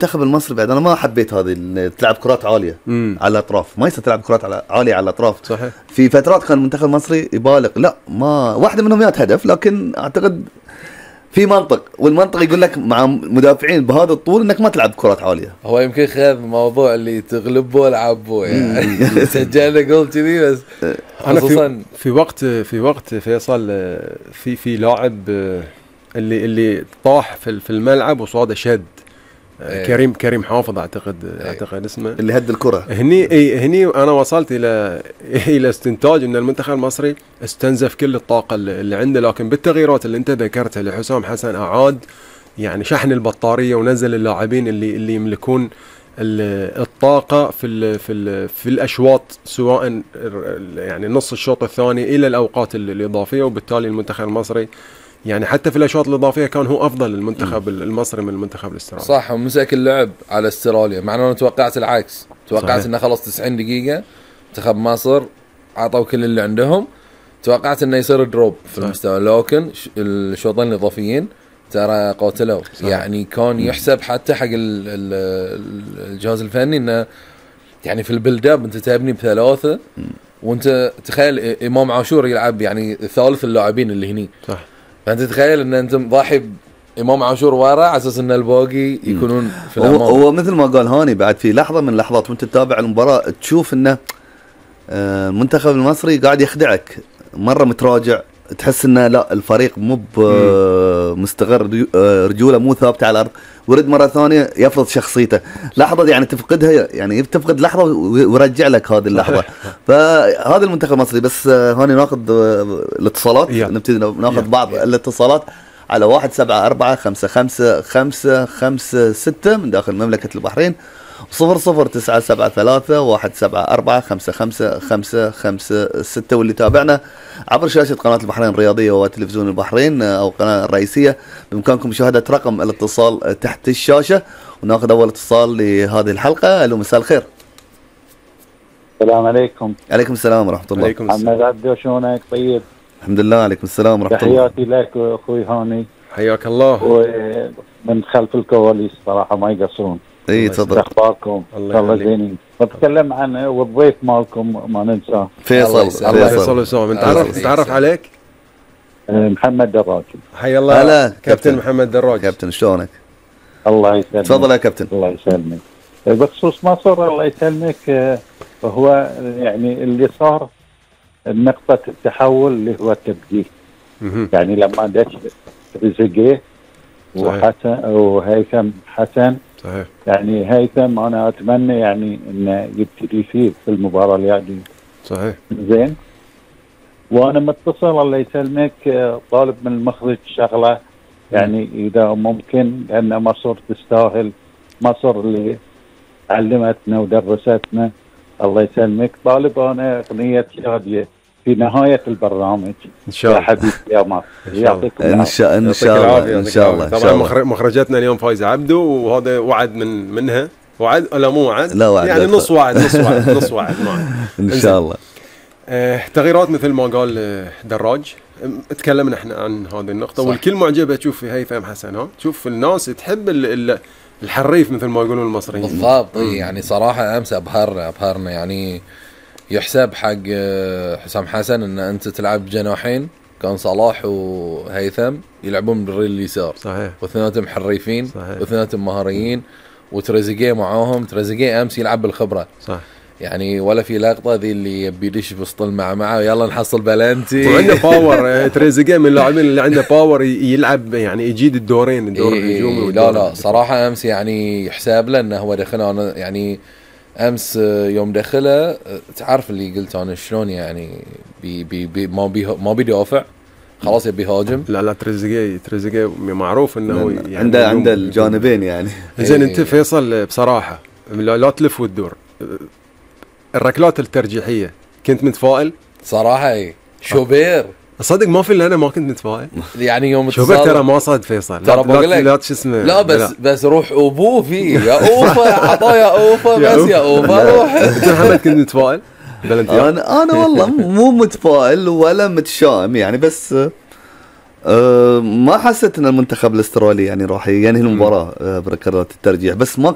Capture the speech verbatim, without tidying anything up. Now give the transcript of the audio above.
المنتخب المصري بعد انا ما حبيت هذه تلعب كرات عاليه مم. على الاطراف، ما يصير تلعب كرات على عاليه على الاطراف. صحيح. في فترات كان المنتخب المصري يبالغ، لا ما واحده منهم مئة هدف، لكن اعتقد في منطق، والمنطق يقول لك مع مدافعين بهذا الطول انك ما تلعب كرات عاليه. هو يمكن خذ موضوع اللي تغلبه العبه يعني سجلنا جول كذي. بس انا في, في وقت في وقت فيصل في في لاعب اللي اللي طاح في في الملعب وصاده شد. أيه. كريم كريم حافظ اعتقد. أيه. اعتقد اسمه اللي هد الكره. هني اي هني انا وصلت الى الى استنتاج ان المنتخب المصري استنزف كل الطاقه اللي عنده، لكن بالتغييرات اللي انت ذكرتها لحسام حسن اعاد يعني شحن البطاريه ونزل اللاعبين اللي اللي يملكون الطاقه في ال في ال في الاشواط، سواء يعني نص الشوط الثاني الى الاوقات الاضافيه، وبالتالي المنتخب المصري يعني حتى في الاشواط الاضافيه كان هو افضل المنتخب المصري من المنتخب الاسترالي. صح، ومسك اللعب على استراليا، مع انه توقعت العكس، توقعت انه خلص تسعين دقيقه منتخب مصر عطوا كل اللي عندهم، توقعت انه يصير دروب في المستوى، لكن الشوطين الاضافيين ترى قاتلوا. يعني كان يحسب حتى حق الجهاز الفني انه يعني في البيلد اب انت تبني بثلاثه، وانت تخيل امام عاشور يلعب يعني ثالث اللاعبين اللي هني. صح. فانت تخيل ان انت ضاحي امام عاشور ورا على اساس ان الباقي يكونون في الامام. هو, هو مثل ما قال هاني، بعد في لحظه من اللحظات وانت تتابع المباراه تشوف انه المنتخب المصري قاعد يخدعك، مره متراجع، تحس انه لا الفريق مو مستقر، رجوله مو ثابته على الارض، ورد مره ثانيه يفرض شخصيته. لحظه يعني تفقدها، يعني تفقد لحظه ويرجع لك هذه اللحظه. فهذا المنتخب المصري. بس هاني ناخذ الاتصالات، نبتدي ناخذ بعض الاتصالات على واحد سبعة أربعة خمسة خمسة خمسة خمسة ستة من داخل مملكة البحرين، صفر صفر تسعة سبعة ثلاثة واحد سبعة أربعة خمسة خمسة خمسة خمسة ستة. واللي تابعنا عبر شاشة قناة البحرين الرياضية وتلفزيون البحرين أو قناة الرئيسية، بإمكانكم مشاهدة رقم الاتصال تحت الشاشة. وناخذ أول اتصال لهذه الحلقة. ألو، مساء الخير. السلام عليكم. عليكم السلام ورحمة الله. عليكم السلام. محمد عبدو، شلونك؟ طيب الحمد لله. عليكم السلام ورحمة الله. تحياتي لك أخوي هاني. حياك الله. ومن خلف الكواليس صراحة ما يقصرون. اي تفضل. اخباركم؟ الله زينين. بتكلم عن والضيف مالكم ما ننساه فيصل. الله فيصل سلام. نتعرف نتعرف عليك. محمد دراج. حي الله. هلا كابتن محمد دراج. كابتن شلونك؟ الله يسلمك. تفضل يا كابتن. الله يسلمك. بخصوص مصر الله يسلمك، هو يعني اللي صار نقطة التحول اللي هو التبديل. يعني لما دش تريزيجيه وحسن وهيثم حسن. صحيح. يعني هيثم انا اتمنى يعني انه يبتدي فيه في المباراه الجايه. صحيح. زين. وانا متصل الله يسلمك طالب من المخرج شغله، يعني اذا ممكن، لان مصر تستاهل، مصر اللي علمتنا ودرستنا الله يسلمك. طالب انا اغنيه شاديه في نهايه البرنامج ان شاء الله. يا حبيبي يا مصر. يعطيكم ان شاء ان شاء الله ان شاء الله. طبعا مخرجتنا اليوم فايزه عبدو، وهذا وعد من منها. وعد ولا مو وعد؟ لا وعد، يعني نص وعد نص وعد نص وعد معي ان شاء الله. آه تغييرات مثل ما قال دراج، تكلمنا احنا عن هذه النقطه. صح. والكل معجبه تشوف في هيثم حسن. ها تشوف الناس تحب ال الحريف مثل ما يقولون المصريين. بالضبط. يعني صراحه امس ابهرنا ابهرنا يعني يحسب حق حسام حسن ان انت تلعب جناحين، كان صلاح وهيثم يلعبون بالريل اليسار. صحيح. واثنيناتهم حريفين، واثنيناتهم مهاريين، وتريزيجيه معاهم. تريزيجيه امس يلعب بالخبره. صح. يعني ولا في لقطه ذي اللي يبي يدش بوسط المعمعه ويلا نحصل بلنتي. وعنده باور. تريزيجيه من اللاعبين اللي عنده باور، يلعب يعني يجيد الدورين، الدور الهجومي والدور. لا لا صراحه امس يعني يحسب له انه هو دخل. انا يعني امس يوم دخله تعرف اللي قلت انا شلون يعني بي بي بي ما بي ما بيدافع، خلاص يبي هاجم. لا لا تريزيجيه تريزيجيه معروف انه يعني عنده عنده الجانبين يعني. زين انت فيصل بصراحه لا, لا تلف وتدور، الركلات الترجيحيه كنت متفائل صراحه؟ اي شوبير صدق ما في الا انا ما كنت متفائل. يعني يوم شوبير ترى ما صاد فيصل. ترى بقول لك لا شو اسمه. لا بس لا. بس روح ابوه فيه يا اوفا عطايا اوفا بس يا اوفا روح. انت محمد كنت متفائل؟ انا انا والله مو متفائل ولا متشائم يعني، بس أه ما حسيت ان المنتخب الاسترالي يعني راح ينهي المباراه أه بركلات الترجيح، بس ما